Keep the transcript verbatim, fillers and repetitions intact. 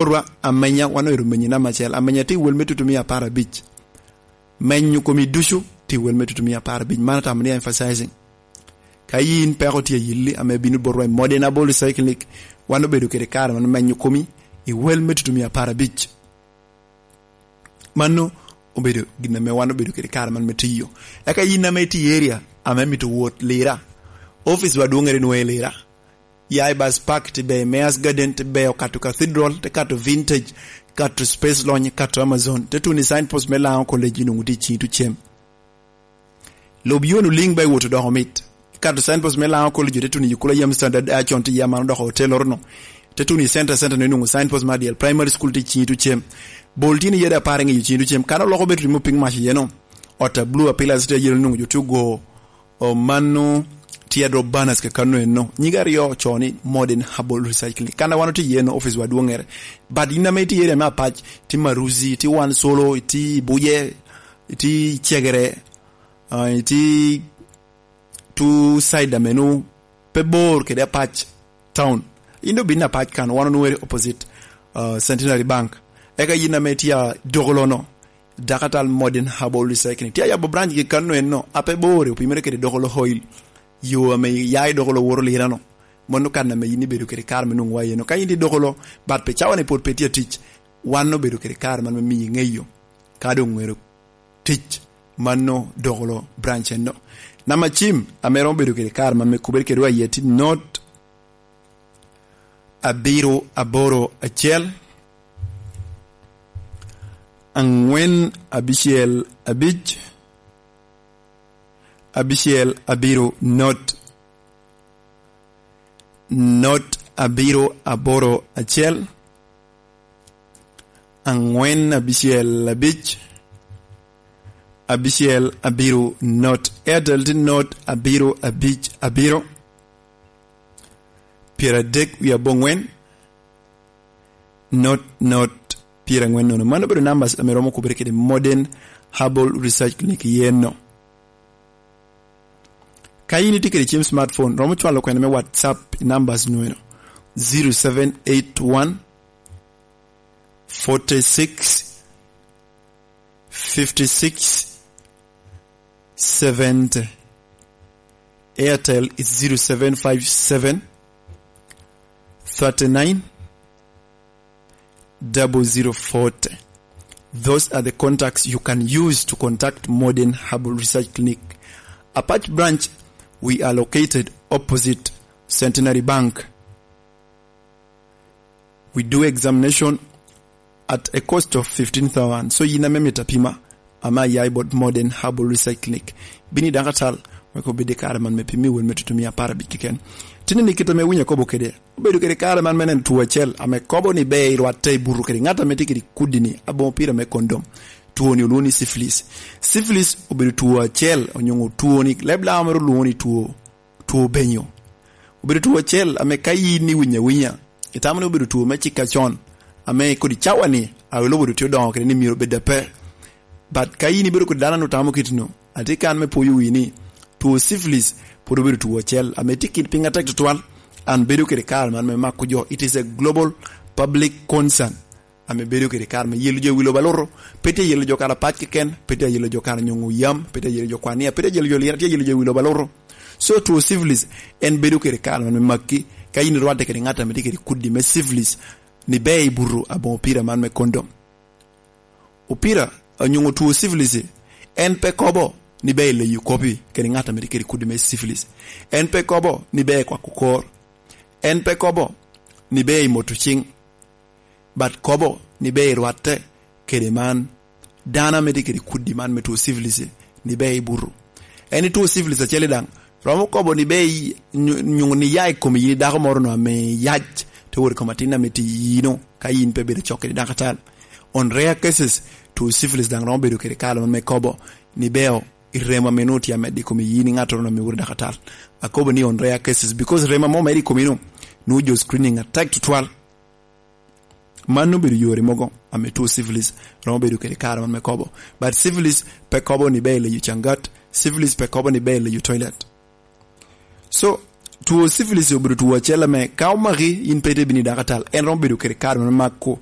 Botwa amenya, wan oero menyi namba acel. Amenya tye i wel me tutumia apar abic. Menyo komi ducu tye i wel me tutumia apar abic. Man atamo ni emphasizing. Ka yin peko tye ayilli ame bino botwa i Modern Herbal Recycling Clinic, wan obedo kede kare man menyo komi i wel me tutumia apar abic. Mano obedo gin ame wan obedo kede kare man me tiyo. Eka yin ame itye i area ame mito wot Lira, office wa dwoŋere nwoŋo i Lira. Ya i Bus Park, te beyo Mayor's Garden, te beyo kato Cathedral, te kato Vintage, kato Space Lounge, kato Amazon, te tuno i signpost me Lango College, inwoŋo tye i ciŋi tucem. Lub yono liŋ ba iwot odoko mit. Kato signpost me Lango College, te tuno i Yukula Yam Standard, a con tye ya man odoko hotel orono. Te tuno i center, center no inwoŋo signpost me Adyel Primary School tye i ciŋi tucem. Bol tye ni yade apar i ŋeyo ciŋi tucem. Kan oloko bedo timo piny mac iye no. Ot a blue a pillars tye ayelo inwoŋo jo tye ogo. O, mano tye adrop banners kakano eno. Nyige aryo ocoo ni Modern Herbal Recycling. Kan a wan otye iye no, office wa dwoŋere. But in ame itye i area me Apac, itye Maruzi, itye Wan Solo, itye i Buje, itye i Cegere, ah, itye two side ameno pe bor kede Apac town. In dong bin Apac kan, wan onwoŋere opposite, ah, Centenary Bank. Eka in ame itye a Dokolono, Dakatal Modern Herbal Recycling. Tye ayabo branch gi kanno enno, a pe bor, opimere kede Dokolo Oil. Yo ame ya i Dokolo woro Lirano. Mano kan ame in ibedo kede kare me nwoŋo wa eno. Ka in i Dokolo, but pe cawa ni pwod pe tye atic, wan obedo kede kare man me miyi ŋeyo. Ka doŋ ŋero tic, mano Dokolo branch enno. Namba cim, ame romo bedo kede kare man me kubere kede wa iye, tye not abiro aboro acel, aŋwen abicel abic, abicel abiro not, not abiro aboro acel, aŋwen abicel abic, abicel abiro not. Airtel tye not abiro abic abiro, pyeradek wie aboŋwen, not, not, pyeraŋwen nono. Mano obedo numbers ame romo kubere kede Modern Herbal Research Clinic yen no. Ka in itye kede cim smartphone, romo cwalo kwena me WhatsApp i numbers nweno: zero seven eight one, forty six, fifty six, seventy. Airtel is zero seven five seven, thirty nine, double zero forty. Those are the contacts you can use to contact Modern Herbal Research Clinic. Apac branch, we are located opposite Centenary Bank. We do examination at a cost of fifteen thousand. So yin ame mito apima, ame aya i bot Modern Herbal Research Clinic, bini daŋ atal, wek obed i kare man me pimi wel me tutumia apar abic keken. Tini ni kit ame winyo akobo kede, obedo kede kare man me neno two acel, ame kobo ni ber irwatte i buto kede ŋat ame tye kede kudi ni, aboŋo pira me kondom. Two ni olwoŋo ni syphilis. Syphilis obedo two acel, onyoŋo two ni, leb Laŋo mere olwoŋo ni two two obenyo. Obedo two acel ame ka in iwinyo awinya, itamo ni obedo two me cik acon, ame kodi cawa ni, a, lobo dong tye odoŋo kede ni myero obed ape. But ka in ibedo kodi dano ame otamo kit-nu, atye kan me pwoyo wii ni, two syphilis pwod obedo two acel, ame tye kit piny atek tutwal, an bedo kede kare man me mako jo. It is a global public concern. Ame bedo kede kare me yelo jo i wi lobo aluto, pe tye yelo jo kara pac keken, pe tye yelo jo kara nyoŋo yam, pe tye yelo jo kwania, pe tye yelo jo lira, tye yelo jo i wi lobo aluto. So two syphilis, en bedo kede kare me makki, ka in irwadde kede ŋat ame tye kede kudi me syphilis, ni ber i buto aboŋo pira man me kondom. Opira, onyoŋo two syphilis, en pe kobo ni ber i leyo kopi kede ŋat ame tye kede kudi me syphilis. En pe kobo ni ber i kwako kor. En pe kobo ni ber i moto ciŋ. But kobo ni ber irwatte kede man, dano ame tye kede kudi man me two syphilis, ni ber ibuto. En i two syphilis acel daŋ, romo kobo ni ber i-, nyu-, nyuŋ ni ya i kom yin i dako moro no ame yac, te wot i kom atin ame tye i yino, ka yin pe bedo cok kede dako atal. On rare cases, two syphilis daŋ romo bedo kede kare man me kobo ni ber i remo ame nwoŋo tye amed i kom yin i ŋattoro no ame wot i dako atal. Akobo ni on rare cases, because remo ame omedo i komi no, nwoŋo jo screening atek tutwal. Man obedo yore mogo ame two syphilis romo bedo kede kare man me kobo. But syphilis pe kobo ni ber i leyo cangat. Syphilis pe kobo ni ber i leyo toilet. So, Two syphilis obedo two acel ame ka omaki, in pe ite bino i dako atal, en romo bedo kede kare me mako.